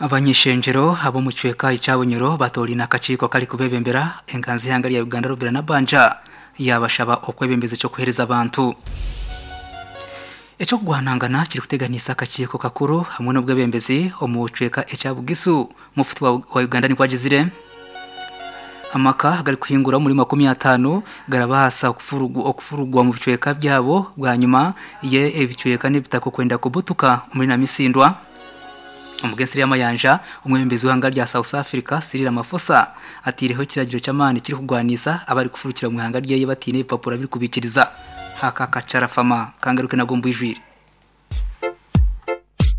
Abany'ishengyero ab'omu kicweka ekya Bunyoro batoraine akakiiko akarikubebembera enganzi y'eihanga rya Uganda Robinah Nabbanja yaabashaba okwebembeza eky'okuheereza abantu. Eky'okugwanangana kirikuteganiisa akakiiko kakuru hamwe n'obwebembezi omu kicweka ekya Bugisu, Mufti wa Uganda nikwo agizire. Amaka agarikuhingura omuri 50 garabaasa okufurugwa omu bicweka byabo bwanyima y'ebicweka n'ebitaka okwenda kubutuka omuri Namisindwa. Omugensi Ryamayanja, omwebembezi w'eihanga rya South Africa Cyril Ramaphosa ateireho ekiragiro ky'amaani kirikugwanisa abarikufurukira omu ihanga ryeye bataine ebipapura birikubaikiriza. Aka kacarafama kangaruke nago omu bwijwire.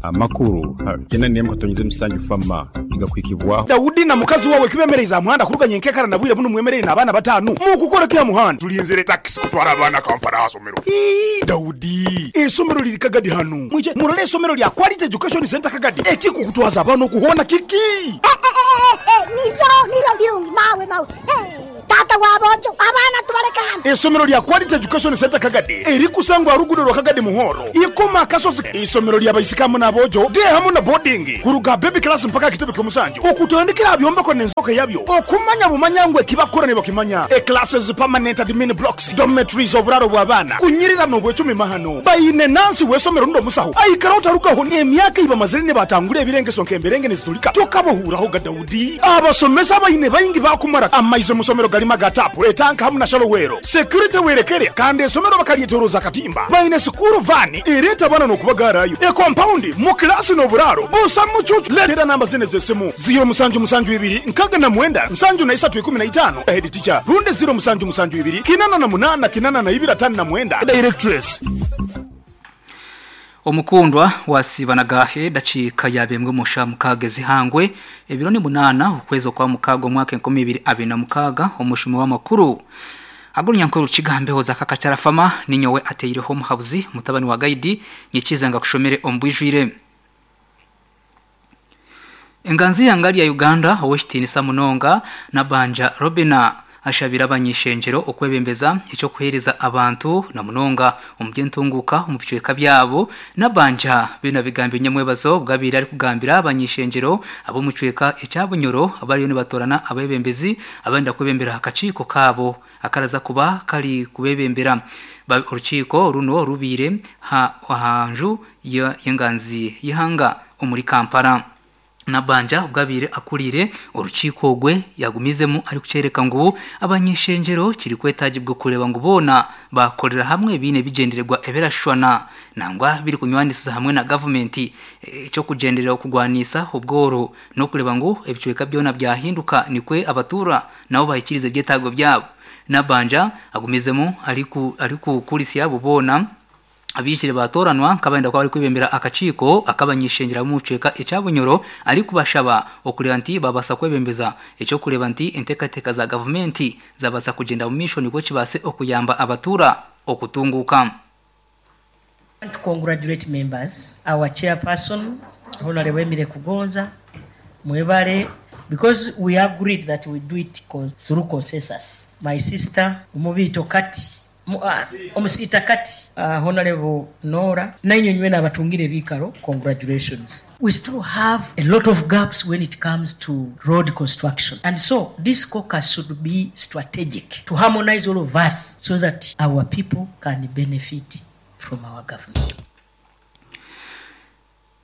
Amakuru gena nemu katonyize musanju fama nigakuhikibwaho. Daudi na mukazi wawe kibemereize aha muhanda kuruga nyenkekara na bwire bunu mwemereire n'abaana batanu. Mukukora ki aha muhanda? Tulinzire takisi kutwara abaana Kampala aha somero. Ii, Daudi, eisomero liri Kagadi hanu. Mwije murole eisomero lya Quality Education Centre Kagadi. Ekikukutwaza abaana oku hoona kiki? Eh, eh, eh, eh, niryo, niryo birungi, mawe, mawe. Eh. Taata wa boojo, abaana tubaleke hanu. Eisomero lya Quality Education Centre Kagadi erikusangwa aha ruguudo rwa Kagadi Muhoro, Ikoma Akasozi. Eisomero lya baisiki hamu n'aboojo, day hamu na boarding, kuruga aha baby class mpaka aha kitebe ky'omusanju, okutandikira aha byombeko n'enzooka yabyo, okumanya bumanya ngu eki bakukora nibakimanya, e classes, permanent admin blocks, dormitories, oburaaro bw'abaana, kunyirira n'obwecumi mahano. Baine nansi w'eisomero rundi omusaho aikara otarugaho n'emyaka ei bamazire nibatangura ebirengeso nk'emberenge niziturika tokabahuuraho ga Daudi. Abasomesa abaine baingi baakumara amaizi omu somero garimu aga taapu, etanka hamu na shalowero. Security werekere kandi esomero bakaryetoroza akatimba. Baine sikuuru vaani ereeta abaana n'okubagaarayo, ekompaundi, mu kilaasi n'oburaaro busa mucuucu. Leetera namba zinu ez'esimu, ziiro musanju musanju ibiri nkaaga na mwenda nsanju na isatu ikumi na itaano, Head teacher, rundi ziiro musanju musanju ibiri kinana na munaana kinana na ibiri ataano na mwenda, Directress. Omukundwa wasiiba na gaahe dakiika yaaba emwe omu shaaha mukaaga ez'eihangwe, ebiro ni munaana okwezi okwa mukaaga omwaka 2026, omushumi w'amakuru ag'orunyankore Rukiga Mbeho za Kakakyarafama ninyowe ateireho omuhabuzi mutabani wa Gaidi nyikiize ngu akushomere omu bwijwire. Enganzi y'eihanga rya Uganda ow'ekitiinisa munonga Nabbanja Robinah ashabire abany'eishengyero okwebembeza eky'okuheereza abantu na munonga omu by'entunguuka omu bicweka byabo. Nabbanja binu abigambire nyamwebazo obu abaire arikugambira abany'eishengyero ab'omu kicweka ekya Bunyoro abariyo nibatoorana abeebembezi abarenda kwebembera akakiiko kaabo akaraza kuba kari kubebembera. Orukiiko runo rubaire aha nju y'enganzi y'eihanga omuri Kampala. Nabbanja obu abaire akuriire orukiiko ogwe yagumizemu arikukyoreka ngu abany'eishengyero kirikwetagibwa kureeba ngu boona baakorera hamwe baine ebigyendererwa ebirashushwana nangwa birikunywanisiza hamwe na gavumenti eky'okugyenderera okurwanisa obworo n'okureeba ngu ebicweka byona byahinduka nikwo abatuura nabo bahikiiriza ebyetaago byabo. Nabbanja agumizemu arikukurisya abo boona Abaijire baatooranwa nk'abarenda kuba barikwebembera akakiiko ak'abany'eishengyero ab'omu kicweka ekya Bunyoro arikubashaba okureeba nti baabaasa kwebembeza eky'okureeba nti enteekateeka za gavumenti zaabaasa kugyenda omu maisho nikwo kibaase okuyamba abatuura okutunguuka. I want to congratulate members, our chairperson Honarebo Emile Kugonza, mwebale because we agreed that we do it through consensus. My sister Omubiito Kati Omusiita Kati Honarebo Norah nainywe nywena abatungire ebiikaro congratulations. We still have a lot of gaps when it comes to road construction and so this caucus should be strategic to harmonise all of us so that our people can benefit from our government.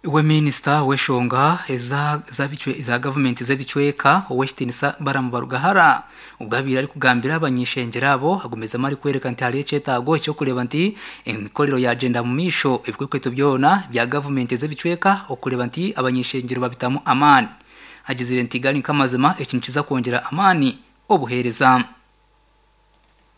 Iwe minisita w'enshonga eza gavumenti z'ebicweka, Ow'ekitiinisa Balaam Barugahara obwo abaire arikugambira abany'eishengyero abo agumizemu arikworeka nti hariho ekyetaago eky'okureeba nti emikorero yaagyenda omu maisho ebikwekweto byona bya gavumenti ez'ebicweka okureeba nti abany'eishengyero babitamu amaani. Agizire nti gari nk'amazima eki nikiza kwongyera amaani obuheereza.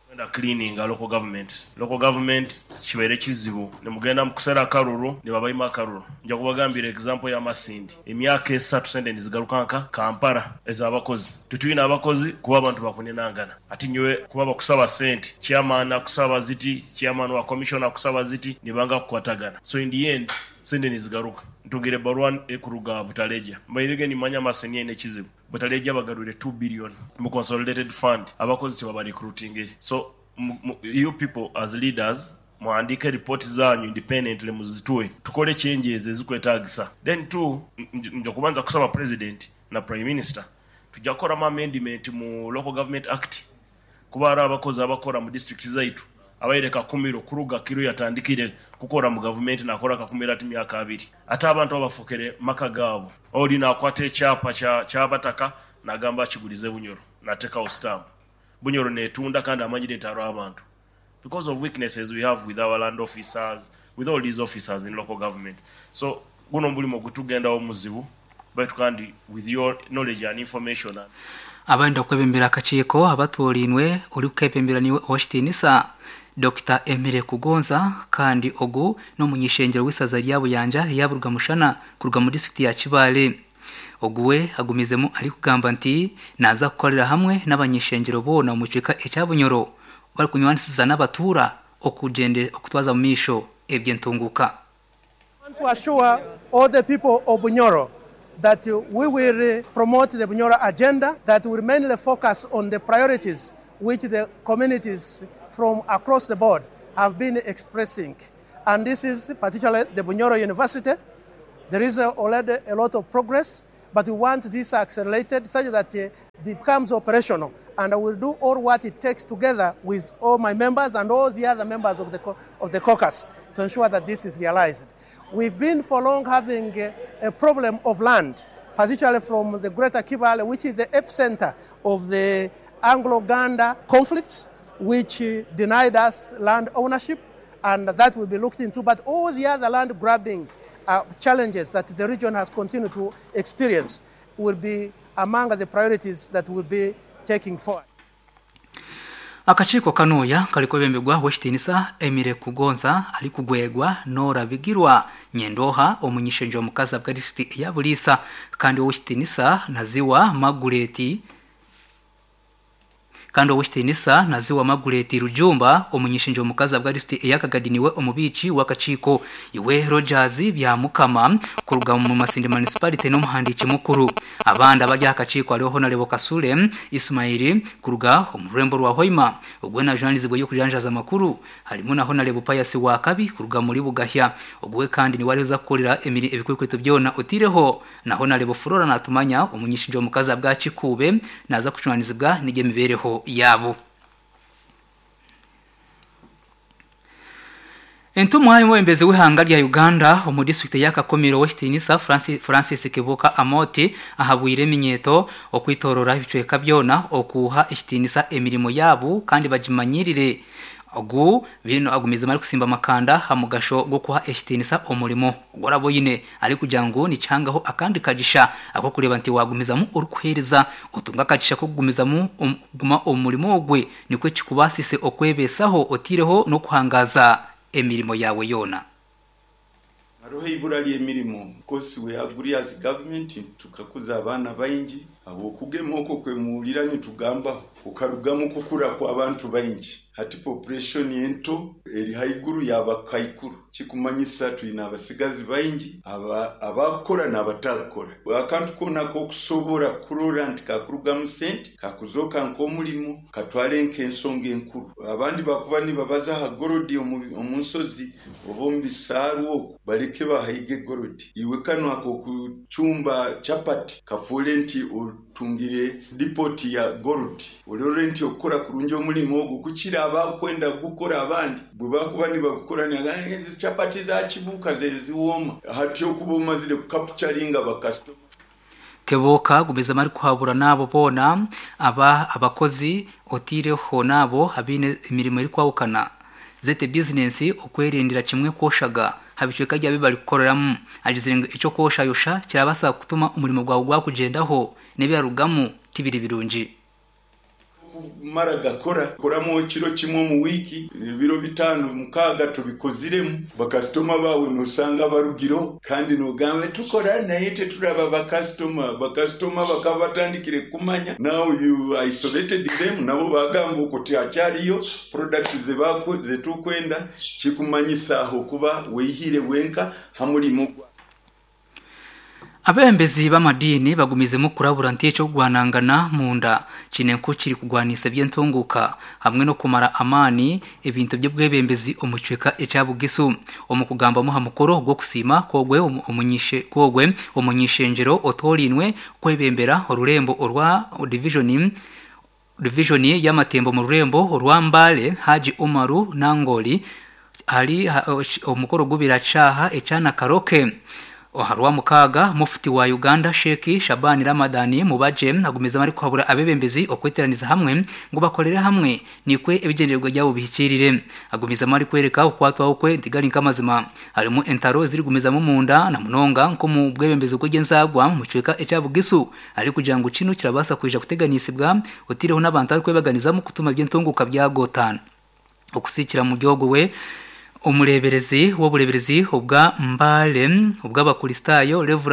Kwenda cleaninga local governments. Local government kibaire kizibu nimugenda mukusera akaruru nibabaima akaruru. Nja kubagambira example ya Masindi emyaka esatu sente nizigaruka nka Kampala ezabakozi. Titwine abakozi kuba abantu bakuninangana. Ati nyowe kuba bakusaba sente chairman akusaba ziti, chairman wa commission akusaba ziti nibanga kukwatagana. So in the end sente nizigaruka. Ntungire ebaruwa ekuruga Butaleja. Mbairege nimanya Masindi eine ekizibu. Butaleja bagarwire two billion mu consolidated fund abakozi tibaba recruitingire so you people as leaders. Muhandiike ripooti zaanyu independently muzituwe tukole changes ezikwetaagisa. Then two, nja kubanza kusaba President na Prime Minister tujja kukoramu amendment mu Local Government Act kuba hariho abakozi abakora mu district zaitu abaire kakumiro kuruga Kiru yatandikire kukora mu gavumenti nakora kakumiro ati myaka abiri ate abantu abafukire maka gaabo. Ori nakwata ekyapa kyabataka nagamba akigurize Bunyoro natekaho stamp. Bunyoro netunda kandi amanyire nti hariho abantu because of weaknesses we have with our land officers, with all these officers in local government. So guno omurimo gutugendaho muzibu baitu kandi with your knowledge and information and. Abarenda kwebembera akakiiko abatoorainwe orikukebembera niwe Owekitiinisa Dokita Emile Kugonza kandi ogu n'omuny'ishengyero w'eisaza rya Buyanja eya Burugamushana kuruga mu disiturikiti ya Kibaale. Ogu we agumizemu arikugamba nti naaza kukorera hamwe n'abany'ishengyero boona omu kicweka ekya Bunyoro barikunywanisiza n'abatuura okutwaza omu maisho eby'entunguuka. I want to assure all the people of Bunyoro that we will promote the Bunyoro agenda that will mainly focus on the priorities which the communities from across the board have been expressing. And this is particularly the Bunyoro University. There is already a lot of progress, but we want this accelerated such that it becomes operational. And I will do all what it takes together with all my members and all the other members of the, of the caucus to ensure that this is realized. We've been for long having a, a problem of land, particularly from the Greater Kibale, which is the epicenter of the Anglo-Ganda conflicts, which denied us land ownership, and that will be looked into. But all the other land grabbing challenges that the region has continued to experience will be among the priorities that will be taking forward. Akakiiko kanuya karikwebemberwa Owekitiinisa Emile Kugonza arikugwegwa Norah Bigirwa Nyendoha omuny'ishengyero omukazi ahabwa disiturikiti eya Buliisa kandi Owekitiinisa Naziwa Margureti Kandi Owekitiinisa Naziwa Margureti Rujumba omuny'ishengyero omukazi ahabwa disiturikiti eya Kagadi niwe omubiiki w'akakiiko. Iwe Rogers Byamukama kuruga omu Masindi Municipality n'omuhandiiki mukuru. Abandi abari aha kakiiko hariho Honarebo Kasule Ismail kuruga omu rurembo rwa Hoima ogwo najunaanizibwa eby'okujanjaaza amakuru harimu na Honarebo Pius Wakabi kuruga muri Bugahya ogwo we kandi niwe arikuza kukorera emiri ebikwekweto byona otiireho na Honarebo Flora Natumanya omuny'ishengyero omukazi ahabwa Kikuube naaza kujunaanizibwa n'eby'emibeereho yaabo. Entumwa y'omwebembezi w'eihanga rya Uganda omu disiturikiti eya Kakumiro Owekitiinisa Francis Kibuuka Amooti ahabwire eminyeeto okwetoorora ebicweka byona okuha ekitiinisa emirimo yaabo kandi bagimanyirire. Ogu binu agumizemu arikusimba amakanda aha mugasho gw'okuha ekitiinisa omurimo ogu oraba oine arikugira ngu nikihangaho akandi kagisha ak'okureeba nti waagumizamu orikuheereza otunga akagisha k'okugumizamu kuguma omu murimo ogwe nikwo kikubaasise okwebeesaho otaireho n'okuhangaaza emirimo yaawe yoona. Hariho eibura ry'emirimo course we agree as government nti tukakuza abaana baingi ahabw'okugema okwo kwemuhurira nitugambaho kukarugamu kukura kw'abantu baingi. Hati population ento eri haiguru y'abakaikuru kikumanyisa twine abasigazi baingi abakukora n'abatarikukora. Akantu koona ak'okusobora kurora nti kakurugamu sente kakuzooka nk'omurimo katware nk'ensonga enkuru. Abandi bakuba nibabaza aha gorodi omu nshozi oba omu bisaaru okwo bareke bahaige gorodi. Iwe kanu ak'okucumba chapati kafuure nti otungire dipoti ya gorodi. Orore nti okukora kurungi omurimo ogu kukira abakwenda kugukora abandi bwe bakuba nibagukora nibagamba ngu chapati za Kibuuka ze niziwooma. Hati okuba omazire kukapucharinga bakasitoma. Keboka gumizamu arikuhabura n'abo boona aba abakozi otaireho n'abo abaine emirimo erikwahukana zete bizinensi okwerindira kimwe kwoshaga aha bicweka byaabo ebi barikukoreramu. Agizire ngu eky'okwoshayosha kirabaasa kutuma omurimo gwawe gwakugyendaho n'ebirarugamu tibiri birungi. Kumara gakora, koramu ekiro kimwe omu wiiki, ebiro bitaano mukaaga tobikoziremu, bakasitoma baawe noosanga barugireho kandi noogamba tukora naye teturaba bakasitoma. Bakasitoma bakaba batandikire kukumanya, now you isolated them nabo baagamba okwo tihakyariyo products ze turikwenda, kirikumanyisa aho okuba weihire wenka ha murimo gwawe. Abeebembezi b'amadiini bagumizemu kurabura nti eky'okugwanangana munda kiine nku kirikugwanisa eby'entunguuka hamwe n'okumara amaani ebintu by'obwebembezi omu kicweka ekya Bugisu. Omu kugambamu aha mukoro gw'okusiima kw'ogwe kw'ogwe omuny'ishengyero otoorainwe kwebembera orurembo orwa divijoni divijoni y'amatembo omu rurembo orwa Mbale, Haji Umaru Nangoli ahari omukoro gubire aha kishaaha ekya Nakaroke. Aha Rwamukaaga, Mufti wa Uganda Sheikh Shaban Ramadhan Mubajje agumizemu arikuhabura abeebembezi okweteeraniza hamwe ngu bakorere hamwe nikwo ebigyendererwa byabo bihikiirire. Agumizamu arikworeka okukwatwaho kwe nti gari nk'amazima harimu entaro ezirikugumizamu omunda na munonga nk'omu bwebembezi bw'eby'enzaarwa omu kicweka ekya Bugisu arikugira ngu kinu kirabaasa kwija kuteganisibwa otaireho n'abantu abarikwebaganizamu kutuma eby'entunguuka byagotaana. Okusiikira omuri ogwo we omureeberezi w'obureeberezi obwa Mbale obw'Abakristaayo Rev.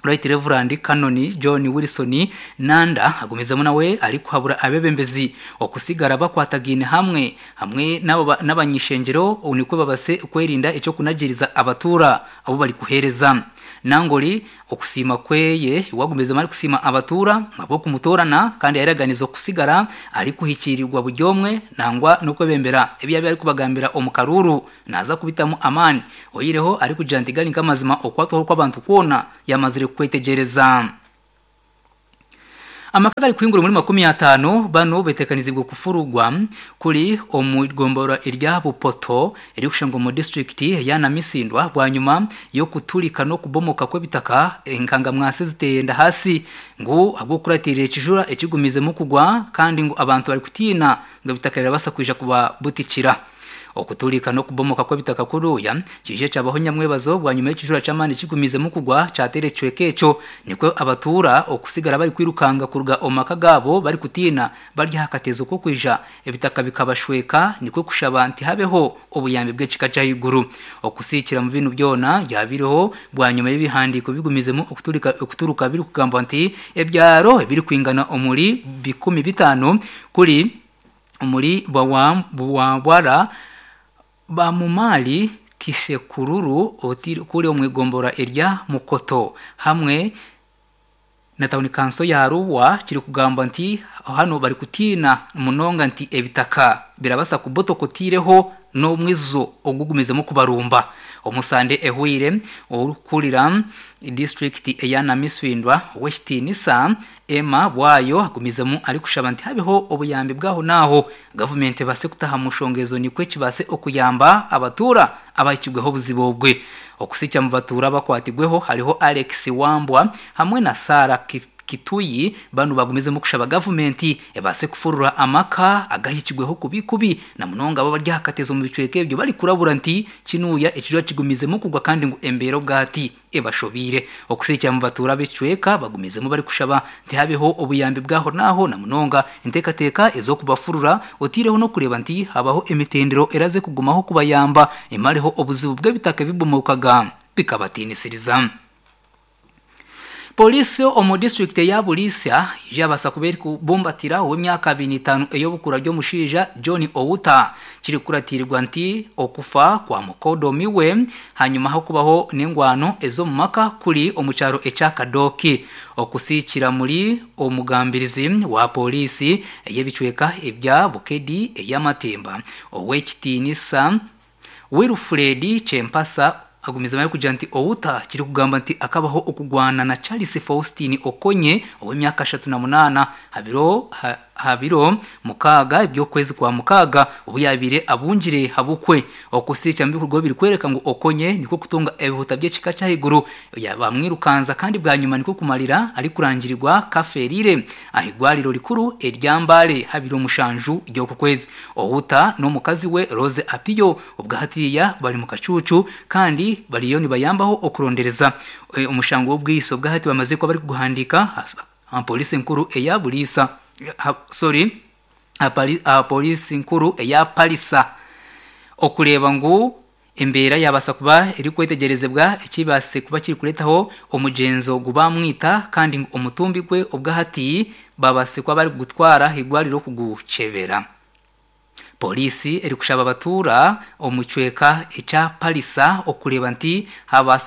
Right Rev. Canon John Wilson Nanda agumizemu nawe arikuhabura abeebembezi okusigara bakwatagaine hamwe hamwe n'abany'ishengyero nikwo babase kwerinda eky'okunagiiriza abatuura abu barikuheereza. Nangori Okusiima kweye wagumizemu arikusiima abatuura ahabw'okumutoorana kandi yayeraganiza okusigara arikuhikiirirwa buri omwe nangwa n'okwebembera ebi yaabaire arikubagambira omu karuuru naaza kubitamu amaani oihireho arikugira nti gari nk'amazima okukwatwaho kw'abantu kwona yamazire kukwetegyereza. Amaka agarikuhingura omuri 50 banu beteekaniziibwe kufurugwa kuri omu igomborora erya Bupoto erikushangwa omu disiturikiti eya Namisindwa bwanyima y'okuturika n'okubomoka kw'ebitaka enkangamwasi eziteyenda hasi ngu ahabw'okukuratiirira ekijura ekigumizemu kugwa kandi ngu abantu barikutiina ngu ebitaka birabaasa kwija kubabutikira. Okuturika n'okubomoka kw'ebitaka kuruuya kiije kyabaho nyamwebazo bwanyima y'ekijura ky'amaani kigumiizemu kugwa kyateera ekicweka ekyo nikwo abatuura okusigara barikwirukanga kuruga omu maka gaabo barikutiina bari aha kateezo k'okwija ebitaka bikabashweka nikwo kushaba nti habeho obuyambi bw'ekika ky'ahaiguru okusiikira mu binu byona byabaireho bwanyima y'ebihandiiko bigumiizemu okuturuka birikugambwa nti ebyaro ebirikwingana omuri 50 kuri Omuri Bwawambwara, Bamumali Kishekururu kuri omu igomborora erya Mukoto hamwe na tauni kanso ya Arua kirikugambwa nti hanu barikutiina munonga nti ebitaka birabasa kubotoka otiireho n'omwijuzo ogugumizemu kubarumba. Omusande ehweire, orikukurira disiturikiti eya Namisindwa Owekitiinisa Emma Bwayo agumizemu arikushaba nti habeho obuyambi bw'aho n'aho, gavumenti ebaase kutaha omu nshonga ezo nikwo kibaase okuyamba abatuura abahikibweho obuzibu obwe. Okusikya omu batuura abakwatigweho hariho Alex Wambwa hamwe na Sarah Kituyi banu bagumizemu kushaba gavumenti ebaase kufurura amaka agahikibweho kubi kubi na munonga abo abari aha katezo omu bicweka ebyo barikurabura nti kinuuya ekijura kigumizemu kugwa kandi ngu embeera obwahati ebashobeire. Okusiikira mu batuura b'ekicweka bagumizemu barikushaba nti habeho obuyambi bw'aho n'aho na munonga enteekateeka ez'okubafurura oteireho n'okureeba nti habaho emitendero eraze kugumaho kubayamba emareho obuzibu bw'ebitaka ebibomokaga bikabatiinisiriza. Pooriisi omu disiturikiti eya Buliisya yabaasa kuba erikubumbatira ow'emyaka 25 ey'obukura ry'omushaija John Outa kirikukuratiirwa nti okufa kwa mukodomi we hanyima h'okubaho n'engwano ez'omu maka kuri omu kyaro ekya Kadoki okusiikira muri omugambirizi wa pooriisi ey'ebicweka ebya Bukedi ey'amatemba Ow'ekitiinisa Wilfred Chempasa agumizemu arikugira nti Outa kirikugambwa nti akabaho okugwana na Charles Faustin Okonye ow'emyaka 38 habiro aha biro mukaaga eby'okwezi kwa mukaaga obu yaabaire abungire habukwe. Okusiikya omu bikorwa birikworeka ngu Okonye nikwo kutunga ebihuta by'ekika ky'ahaiguru bamwirukanza kandi bwanyima nikwo kumarira arikurangirirwa kafeerire aha igwariro rikuru erya Mbale ha biro mushanju ry'oku kwezi. Outa n'omukazi we Rose Apiyo obwa hatiiya bari mu kacuucu kandi bariyo nibayambaho okurondereza omushango w'obwitsi obwa hati bamazire kuba barikuguhandiika aha pooriisi enkuru eya Buliisa sorry aha pooriisi nkuru eya Palisa okureeba ngu embeera yaabaasa kuba erikwetegyerezibwa ekibaasire kuba kirikureetaho omugyenzo ogu baamwita kandi ngu omutumbi gwe obwahati babaasire kuba barikugutwara aha irwariro kugukyebera. Poliisi erikushaba abatuura omu kicweka ekya Palisa okureeba nti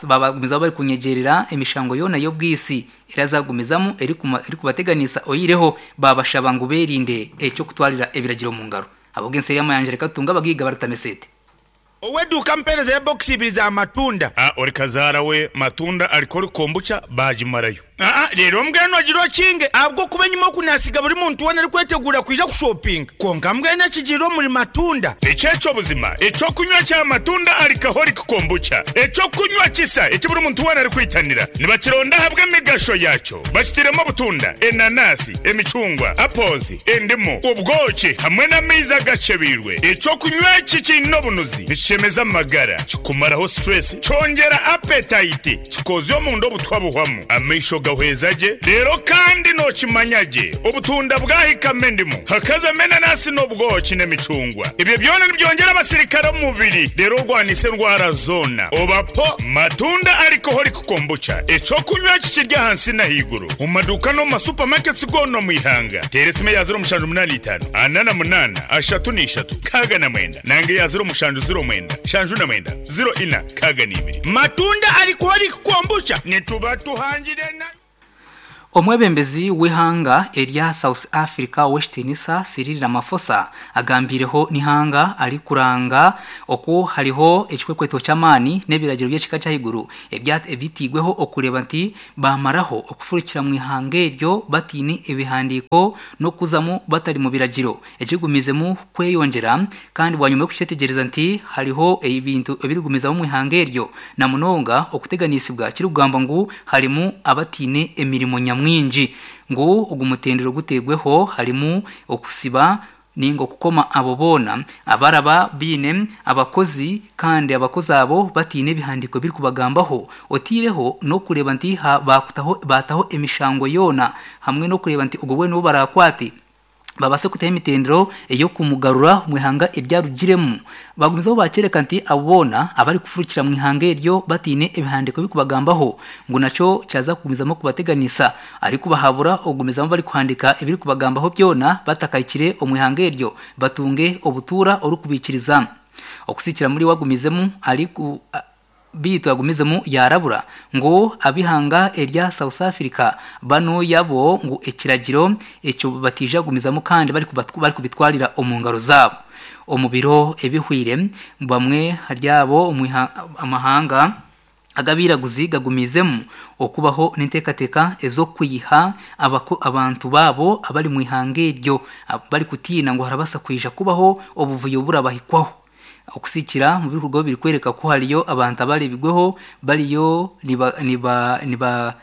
bagumizamu barikunyegyerera emishango yoona y'obwitsi erazagumizamu erikubateganisa oyihireho babashaba ngu berinde eky'okutwarira ebiragiro omu ngaro. Ahabw'ensi y'amayanja reka tutunge abagaiga barutama esente. Ow'eduuka ampeereza ya bokisi ibiri za matunda. A Ori kazaara we matunda alcoholic kombucha baagimarayo. Aa Reero mbwenu ogire okinge ahabw'okuba enyima oku naasiga buri muntu weena arikweteguura kwija kushopinga. Kwonka mbwenu ekigiire omuri matunda. Eki eky'obuzima eky'okunywa kya matunda alcoholic kombucha, eky'okunywa kisa eki buri muntu weena arikwitanira. Nibakironda ahabw'emigasho yaakyo. Bakitairemu obutunda, enanasi, emicungwa, apples, endimu, obwoki hamwe n'amaizi agakyebeirwe. Eky'okunywa eki kiine obunuzi, nikishemeza amagara, kikumaraho stress, kyongyera appetite, kikoozya omunda obutwa buhwamu, amaisho gahweza gye, reero kandi nookimanya gye obutunda bwahikamu endimu, hakazamu enanasi n'obwoki n'emicungwa. Ebyo byona nibyongyera abasirikare omu mubiri reero orwanise endwara zoona. Oba po matunda alcoholic kombucha, eky'okunywa eki kiri ahansi n'ahaiguru omu maduuka n'omu ma supermarkets goona omu ihanga. Teera esimu eya 0785 48 33 69 nanga eya 0709 79 04 62. Matunda alcoholic kombucha nituba tuhangire na. Omwebembezi w'eihanga erya South Africa ow'ekitiinisa Cyril Ramaphosa agambiireho n'eihanga arikuranga oku hariho ekikwekweto ky'amaani n'ebiragiro by'ekika ky'ahaiguru ebitairweho okureeba nti baamaraho okufurukira mu ihanga eryo bataine ebihandiiko n'okuzamu batari mu biragiro ekirigumizemu kweyongyera kandi bwanyima y'okukyetegyereza nti hariho ebintu ebirikugumizamu omu ihanga eryo na munonga okuteganisibwa kirikugambwa ngu harimu abataine emirimo nyamwingi ngu ogu mutendera oguteirweho harimu okusiba ninga okukoma abo boona abaraba baine abakozi kandi abakozi abo bataine ebihandiiko ebirikubagambaho otaireho n'okureeba nti baataho emishango yoona hamwe n'okureeba nti ogwo weena ou baraakwate babaase kutaho emitendero ey'okumugarura omu ihanga eri arugiremu. Baagumizaho baakyoreka nti abo boona abarikufurukira omu ihanga eryo bataine ebihandiiko ebirikubagambaho ngu nakyo kyaza kugumizamu kubateganisa arikubahabura okugumizamu barikuhandiika ebirikubagambaho byona batakahikire omu ihanga eryo batunge obutuura orikubaikiriza. Okusikira muri we agumizemu ariku. Beitu agumizemu yaarabura ngu ab'eihanga erya South Africa banu yabo ngu ekiragiro ekyo bataija kugumizamu kandi barikubitwarira omu ngaro zaabo. Omu biro ebihweire, bamwe ahari abo omu amahanga ag'abairaguzi gagumiizemu okubaho n'enteekateeka ez'okwiha abantu baabo abari omu ihanga eryo barikutiina ngu harabaasa kwija kubaho obuvuyo oburabahikwaho. Okusikira omu bikorwa birikworeka ku hariyo abantu abareebirweho bariyo niba niba niba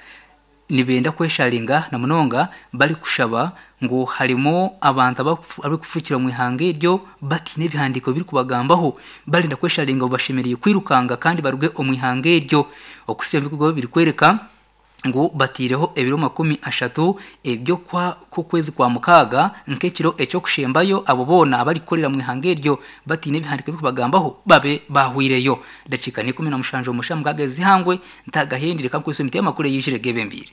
nibenda kwesharinga na munonga barikushaba ngu harimu abantu abarikufurukira omu ihanga eryo bataine ebihandiiko birikubagambaho barenda kwesharinga ngu bashemereire kwirukanga kandi baruge omu ihanga eryo. Okusikira omu bikorwa birikworeka ngu bataireho ebiro 30 eby'okwezi kwa mukaaga nk'ekiro eky'okushembayo abo boona abarikukorera omu ihanga eryo bataine ebihandiiko ebirikubagambaho babe baahweireyo. Dakiika n'17 omu shaaha mukaaga ez'eihangwe ntagahendi reka nkwise emiti y'amakuru eyaijire gebembeire.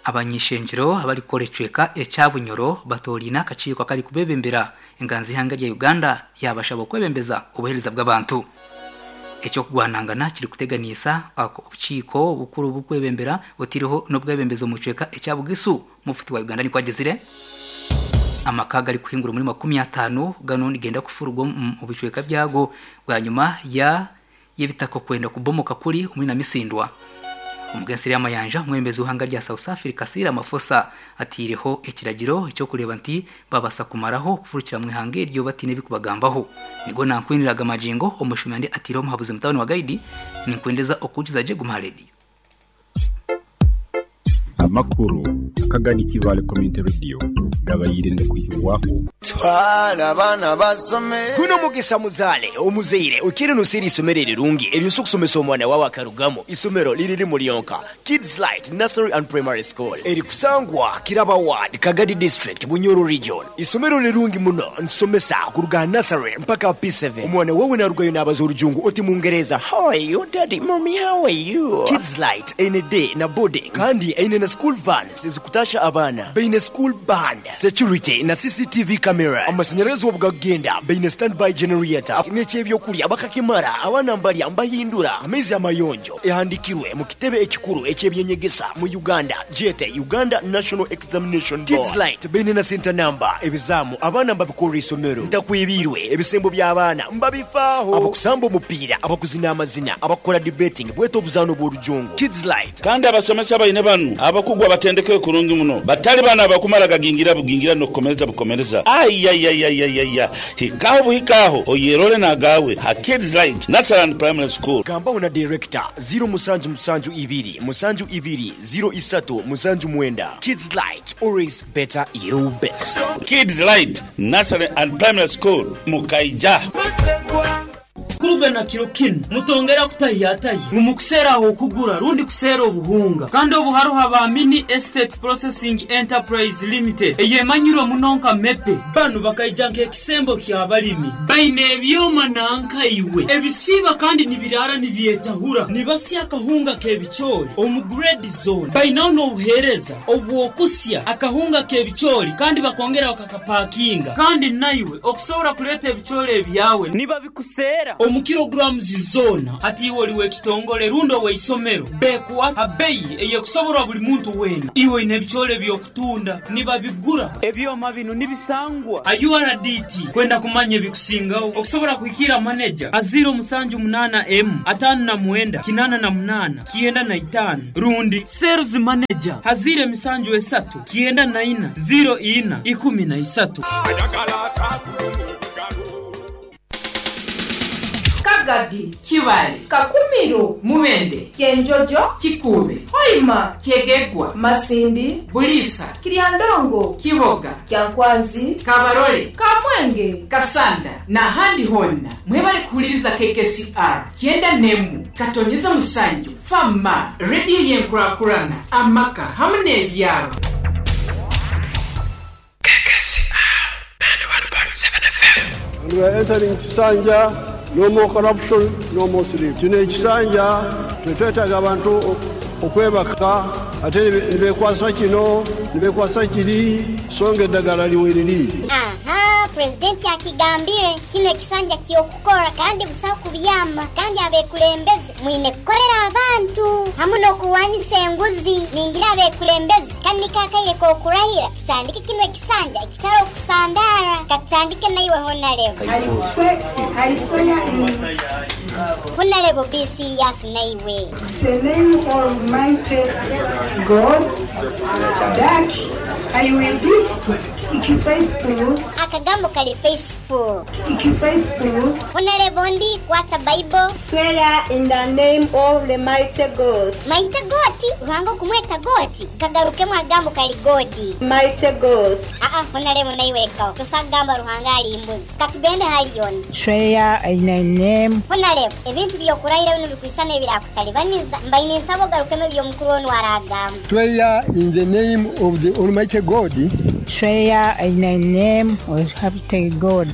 Abany'ishengyero abarikukora ekicweka ekya Bunyoro batooraine akakiiko akarikubebembera Enganzi y'eihanga rya Uganda yaabashaba okwebembeza obuheereza bw'abantu. Eky'okugwanangana kirikuteganiisa obukiiko obukuru oburikwebembera otaireho n'obwebembezi omu kicweka ekya Bugisu, Mufti wa Uganda nikwo agizire. Amaka agarikuhingura omuri 50 ganu nigenda kufururwa omu bicweka byago bwanyima ya y'ebitaka okwenda kubomoka kuri omuri Namisindwa. Omugensi Ryamayanja, omwebembezi w'eihanga rya South Africa Cyril Ramaphosa ataireho ekiragiro eky'okureeba nti babaasa kumaraho okufurukira omu ihanga eryo bataine ebikubagambaho. Nigwo nankwinira aga magingo, omushumi andi ataireho omuhabuzi mutabani wa Gaidi, ninkwendeza okuhukiza gye guma aha rediyo. Amakuru akagani Kibaale Community Radio gabaire nigakwihibwaho. Twala abaana basome. Guno mugisa muzaale omuzaire okiire noseera eisomero erirungi eryosa okusomesa omwana wawe akarugamu. Isomero liri limu lyonka, Kids Light Nursery and Primary School eri kusangwa Kiraba Ward, Kagadi District, Bunyoro Region. Isomero lirungi muno nitusomesa kuruga aha nursery mpaka aha P7. Omwana wawe narugayo nabaza orujungu oti mungereza How are you daddy, mummy how are you? Kids Light eine day na boarding kandi eine na school vans ezikutasha abaana. Baine school band. Security na CCTV cameras, amasanyarazi obu gakugenda baine standby generator, n'eky'ebyokurya bakakimara, abaana mbarya mbahindura, amaizi amayonjo, ehandikirwe mu kitebe ekikuru eky'ebyenyegesa mu Uganda gyete Uganda National Examination Board. Kids Light baine na center number, ebizaamu abaana mbabikorera isomero, ntakwebiirwe, ebisembo by'abaana mbabifaaho, abakusamba omupiira, abakuzina amazina, abakukora debating bwete obuzaano bw'orujungu. Kids Light. Kandi abasomesa baine banu abakugu abatendekeirwe kurungi muno, batali bano abakumala gagingira bugingira n'okukomereza bukomereza. Aiaiaiaiaia! Hika agho buhike agho oyerole n'agaawe ha Kids Light Nursery and Primary School. Gambaho na Director, ziro musanju musanju ibiri musanju ibiri ziro isatu musanju mwenda. Kids Light, always better you best. Kids Light Nursery and Primary School, Mukaija. Kuruga na kiro kinu, mutongera kutahiyatahya ngu mukuseera ah'okugura rundi kuseera obuhunga. Kandi obu haroho aba Mini Estate Processing Enterprise Limited eyemanyirwe muno nka MEPE. Banu bakaija nk'ekisembo ky'abalimi. Baine ebyoma nanka iwe ebisiiba kandi nibiraara nibyetahura nibasya akahunga k'ebicoori omu grade zoona. Bainaho n'obuheereza obw'okusya akahunga k'ebicoori kandi bakongera bakakapakinga. Kandi naiwe okusobora kuleeta ebicoori ebyawe nibabikuseera omu kilograms zoona. Hati iwe oli w'ekitongole rundi ow'eisomero, beekuha ha beyi ey'ekusoborwa buli muntu weena. Iwe oine ebicoori eby'okutunda, nibabigura. Ebyoma binu nibisangwa ha URDT. Kwenda kumanya ebikusingaho, okusobora kuhikiira maneja ha ziiro musanju munaana emu, ataano na mwenda, kinaana na munaana, 95 rundi Sales Manager ha ziiro emisanju esatu, 94, ziiro ina, 13. Kagadi, Kibale, Kakumiro, Mubende, Kyenjojo, Kikuube, Hoima, Kyegegwa, Masindi, Buliisa, Kiryandongo, Kiboga, Kyankwanzi, Kabarole, Kamwenge, Kasanda n'ahandi hoona. Mwebale kuhuliriza KKCR kyenda n'emu katonyeza musanju Fama, rediyo y'enkurakurana, amaka hamu n'ebyaro. And we are entering kisanja, no more corruption, no more sleep. Kino ekisanja tetwetaaga abantu okwebaka ate nibekwasa kino nibekwasa kiri so nga eddagala liweriri. Aha, Purezidenti akigambire, kinu ekisanja ky'okukora kandi busaho kubyama kandi abekulembeze mwine kukolera abantu hamu n'okurwanisa enguzi. Ningira abekulembeze kanu niko akaire k'okurahira tutandike kinu ekisanja ekitari okusandaara. Katutandike naiwe Honarebo. Honarebo be serious naiwe. The name Almighty God that I will be faithful. Akagambo kari faithful. Faithful. Honarebo ndi kwata Bible. Swear in the name of the mighty God. Mighty God? Ruhanga okumweta God? Kagarukemu akagambo kari God. Mighty God. Aa Honarebo naiwe lekaho tosa kugamba Ruhanga ari mbuzi. Katugende hali yona. Swear in the name. Honarebo ebintu by'okurahira binu bikwisana ebirakutalibaniza. Mbaire ninsaba ogarukemu ebi omukuru onu aragamba. Swear in the name of the Almighty God. Swear in the name of Almighty God.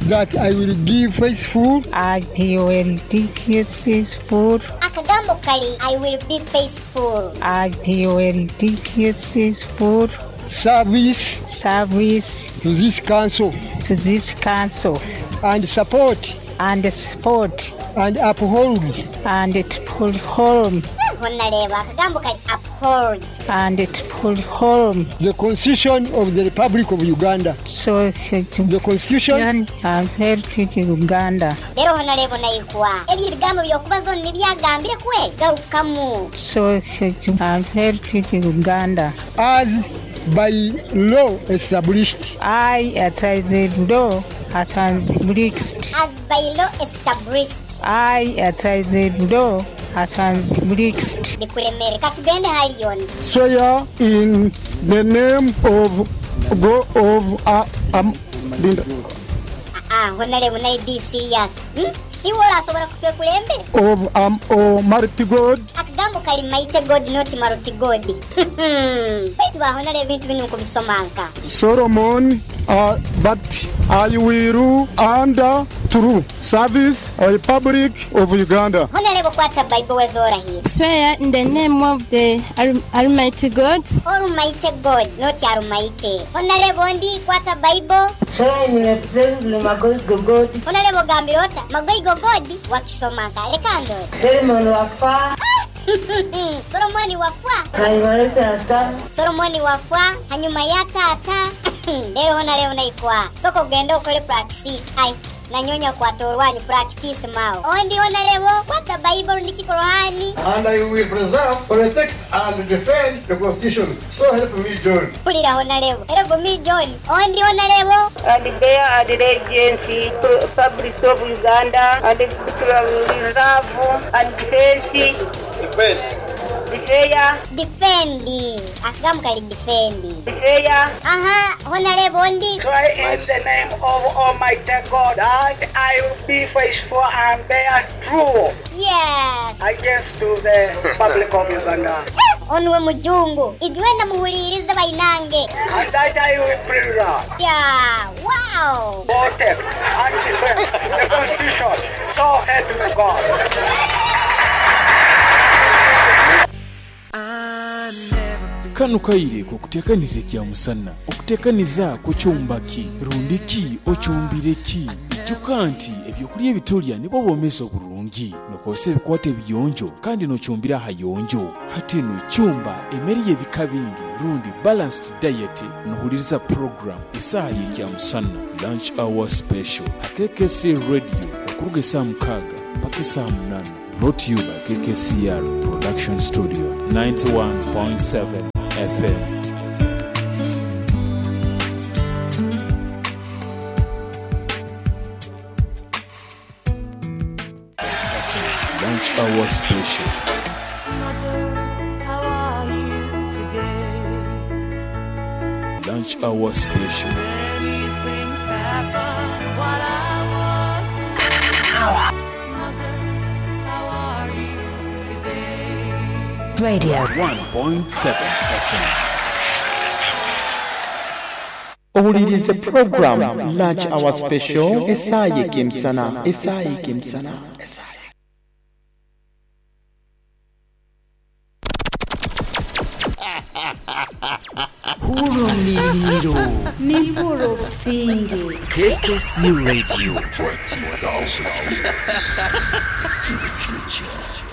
That I will give faithful. I will give faithful. Akagambo kari I will be faithful. I will give faithful. Service. Service. To this council. To this council. And support. And support. And uphold. And uphold. Honareba akagambo kari uphold. And uphold. The Constitution of the Republic of Uganda. So the Constitution and Heritage Uganda. Rero Honarebo naikwa. Ebyo ebigambo by'okubaza onu nibyo agambire kweli? Garukamu. So and Heritage Uganda. As by law established. I as the law established. As by law established. I as the law established. Bikuremere. Katugende hali yona. Swear in the name of of Linda. Aa honalebo naye be serious hmm? Iwe orasobora kutwekulembera? Of am Almighty God. Akagambo kali mighty God not maruti God baitu ba honalebo ebintu binu nkubisoma nka. Solomon but I will under true service Republic of Uganda. Honalebo kwata Bible weza orahire. Swear in the name of the Almighty God. Almighty God not Arumaite. Honalebo ndi kwata Bible. Honalebo ogambire ota Magoigo God wakisoma nka leka ndore. Solomon wafa. Solomoni wafwa. Solomoni wafwa hanyuma ya taata. Lero honalebo naikwa. Soka ogende okole practice. Ai nanyonya kwata orwanyu practice mao. Ondi honalebo kwata Bible rundi Korohani. And I will preserve, protect, and defend the Constitution. So help me John. Mpulira honalebo. Era gumi John. Ondi honalebo. And bear allegiance to Republic of Uganda and reserve and defense. Defend. Defeya. Defend. Akagambo kali defend. Defeya. Aha, honalebo ondi. Swear in the name of Almighty God that I will be faithful and bear true. Yes. Against to the Republic of Uganda. Onu we mujungu. Idwenda muhulirize bainange. And that I will preserve. Yeah, wow. Protect and defend the Constitution. So help me God. Kanu kaire k'okuteekaniza ekyamusana. Okuteekaniza kukyumba ki? Rundi ki okyumbire ki? Ijuka nti ebyokulya ebitulya nibwo bwomeezi oburungi. Nokozesa ebikwato ebiyonjo kandi nokyumbira ahayonjo. Hati nu kyumba emere y'ebika bingi rundi balanced diet nohuliriza program esaaha y'ekyamusana, Lunch Hour Special, ha KKC Radio okuruga esaaha mukaaga mpaka esaaha munaana. Brought to you by KKCR Production Studio, 91.7 FM. Lunch Hour Special. Lunch Hour Special. Radio. 1.7 FM. Owulirize program Lunch Hour Special esaaha y'ekemisana esaaha y'ekemisana. Hurumiliro. Nimpura obusinge. KKC Radio. 20,000 years to the future.